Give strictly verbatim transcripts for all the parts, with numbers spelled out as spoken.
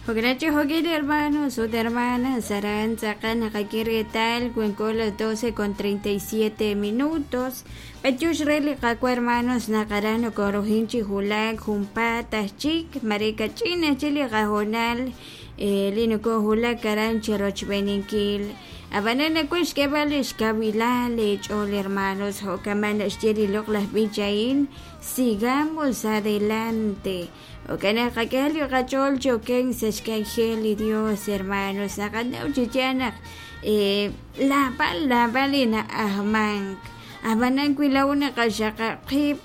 Jo'kan jo'kin hermanos ut hermanas aran tz'aqal naqak'e reetal wanko las doce con treinta y siete minutos b'antiox re li Qaawa' hermanos naq aran nokorujin chi wulak junpaat aj chik mare kach'in aj chik li qahoonal li nokojwulak aran chirochb'eeninkil ab'anan nawaj xk'eeb'al lix kawilal leech'ool hermanos jo'kaman naxye li loq'laj b'ich a'in sigamos adelante jo'kan naq qak'e li qach'ool chi okenk sa' xk'anjel li Dios hermanos naqanaw chi yaal naq laab'al laab'al li na'ajmank ab'anan wi laa'o naqaxaqab' qib'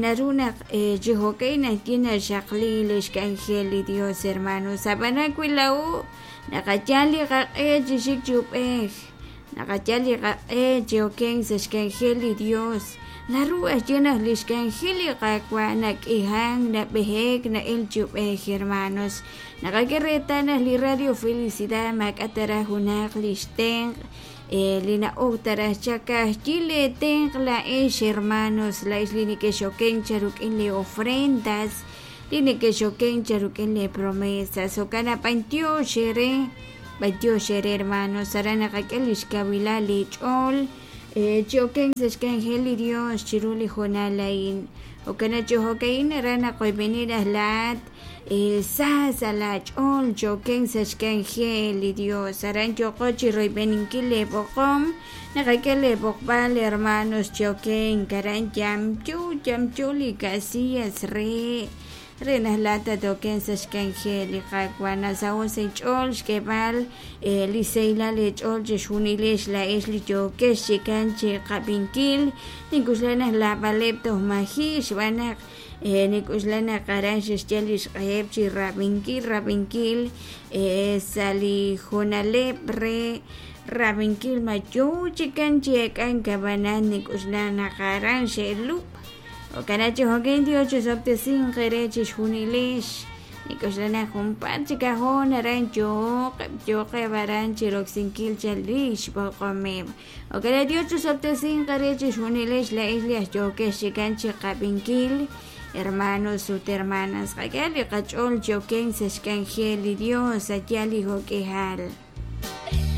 naru naq chi jo'ka'in ajwi' naxaqli li xk'anjel li Dios hermanos ab'anan wi laa'o naqayal li qaq'e chi xik chi ub'ej naqayal li qaq'e chi okenk sa' xk'anjel li Dios naru ajwi' naq li xk'anjel li Qaawa' nak'ihan nab'ejek na'el chi ub'ej hermanos naqak'e reetal naq li Radio Felicidad maak'a' taraj junaq li xtenq' li na'ok taraj chaq ka'ajwi' leetenq' laa'ex hermanos laa'ex li nekexokenk charuk'in li ofrendas li nekexokenk charuk'in li promesas jo'kan naq b'antiox eere b'antiox eere hermanos aran naqak'e li xkawilal leech'ool chi okenk sa' xk'anjel li Dios chiru li hoonal a'in jo'kan naq chi jo'ka'in aran naqoyb'eni raj laa'at sa sa' laach'ool chi okenk sa' xk'anjel li Dios aran yooqo chi royb'eninkil leeb'oqom naqak'e leeb'oqb'al hermanos chi okenk aran yamyu yamyu li casillas re re naq laa'at tatokenk sa' xk'anjel li Qaawa' nasaho' sa' inch'ool xk'eeb'al li sahilal leech'ool chixjunilex laa'ex li yookex chikan chi qab'inkil nink'uxla naq laab'aleb' toj maji' xb'aan naq nik'uxla naq aran xexye li xq'eheb' chi rab'inkil rab'inkil sa' li hoonaleb' re rab'inkil ma yoo chikan chi ek'ank ab'anan nik'uxla naq aran xe'lub' jo'kan chi jo'kan Dios chisob'tesinq eere chixjunilex nik'uxla naq junpaat chik ajoon aran yooqeb' yooqeb' aran chiroksinkil chal xb'oqomeb' jo'kan Dios chisob'tesinq eere chixjunilex la'ex li aj yookex chikan chi qab'inkil hermanos ut hermanas qak'e li qach'ool chi okenk sa' xk'anjel li Dios a' yaal li jo'k'ihal.